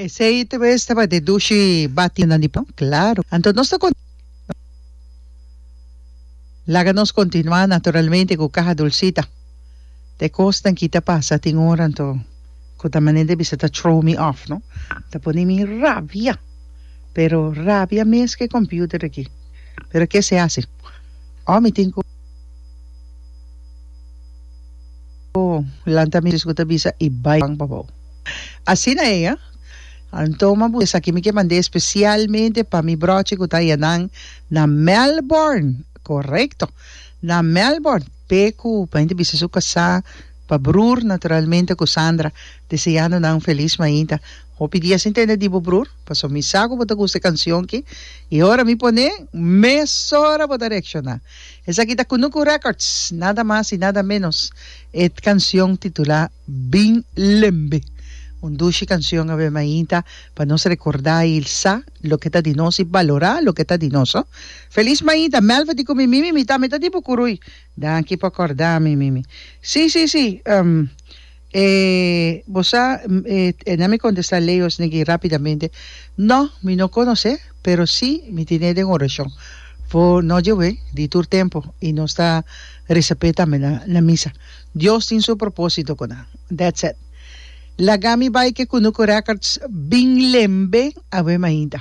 Esey te bes tabata e dushi bati nan di pan? Claro. Anto nos ta con. Laga nos continua naturalmente cu Caja Dulcita. Ta e cosnan ki ta pasa tin ora anto cu ta manera di bisa ta throw me off no. Ta pone mi rabia. Pero rabia mes cu e computer aki. Pero ke se haci? Oh mi tin cu lanta mi cu ta bisa y bay pan pabou. Asina ey ah. Anto ma bu esaki mi ke mand'é especialmente pa mi brochi cu ta yanan na Melbourne. Correcto. Na Melbourne. P'e cu pa hende bisa su casá, pa broer naturalmente cu Sandra, deseando nan un feliz mainta. Hopi dia sin tende di bo broer, pasobra mi sa cu bo ta gusta e cancion ki y ora mi pone, mesora bo ta reacciona. Esaki ta Kunuku Records, nada mas y nada menos, e cancion titula Bin Lembe. Un dushi cancion awe mainta pa nos recorda y sa loke ta di nos y balora loke ta di nos. Feliz mainta, Melva di cu mi mimi, mi tambe ta di bo curui. Danki pa corda mi mimi. Si, si, si. E bo sa, e na mi contesta Leo esneki rapidamente, No, mi no conoce, pero si mi tine den oracion. For no djewe, di tur tempo, y nos ta reza p'e tambe na na misa. Dios tin su proposito cu nan. That's it. Laga mi bay ke Kunuku Records bin lembe awe mainta.